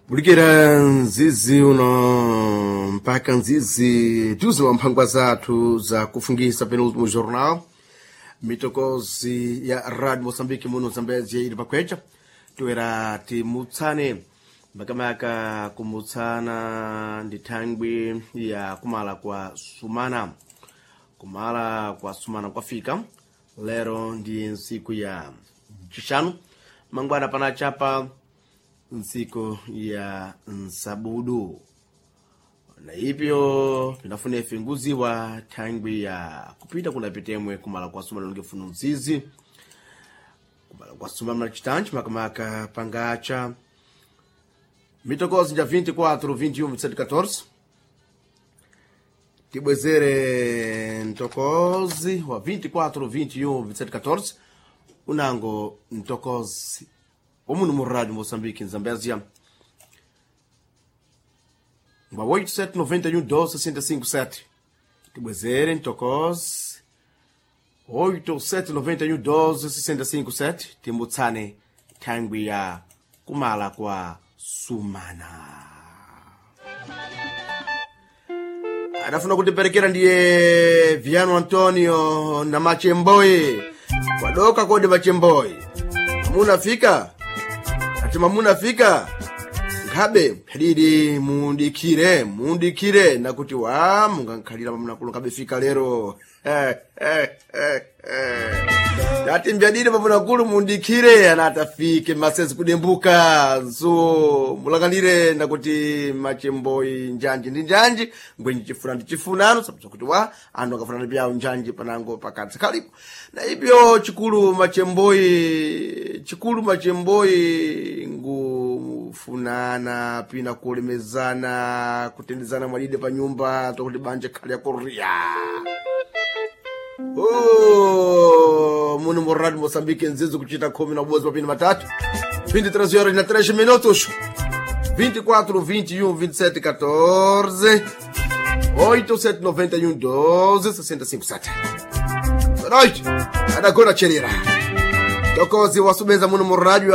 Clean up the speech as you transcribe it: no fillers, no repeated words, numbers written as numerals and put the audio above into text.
Bulikira nzizi uno mpaka nzizi tuzi wa mphangwa zathu za kufungisa penúltimo jornal mitokozi ya rádio moçambique muno zambezia ili pakwecha toera timutsane makamaka kumutsana ndi thangwi ya kumala kwa sumana. Kumala kwa sumana kwafika lero ndi ntsiku ya chixanu, mangwana panachapa ntsiku ya nsabudu, na ipyo pinafuna ife nguziwa thangwi ya kupita kunapitemwe kumala kwa sumana longefuna nzizi kumala kwa sumana mnachitanji makamaka pangacha mitokozi ja 24 21 27 14. Tibwezere mtokozi wa 24 21 27 14 unango mtokozi wamuno mu rádio Moçambique em Zambésia ngwa 87 91 12 65 7. Tibwezere mtokozi 87 91 12 65 7, timbutsane thangwi ya kumala kwa sumana. Adafuna kutiperekera ndiye Viano Antonio na Machemboyi kwadoka kodi Machemboyi mamunafika ati mamunafika nkhabe phadidi mundikire mundikire nakuti wa mungankhalira mamunakulu nkhabe fika lero. Tati mbyadidi mamunakulu mundikire anatafike masezi kudembuka nso mulanganire nakuti machemboyi njanji ndi njanji ngwenji chifuna ndi chifunano sabza kuti wa anthu akafunana pyawo njanji panango pakati khalipo na ibyo chikulu machemboyi chikulu machemboyi ngufunana pina kulemezana kutendezana mwadide pa nyumba tokuti banja khali ya korea. Oh, muno mu rádio Moçambique nzizi kuchita khumi na ubodzi mapini matatu 23 horas na 3 minutos 24 21 27 14 8 7 91 12 65 7. Boa noite. Adagora Cherira. Tokozi wasubeza muno mu rádio.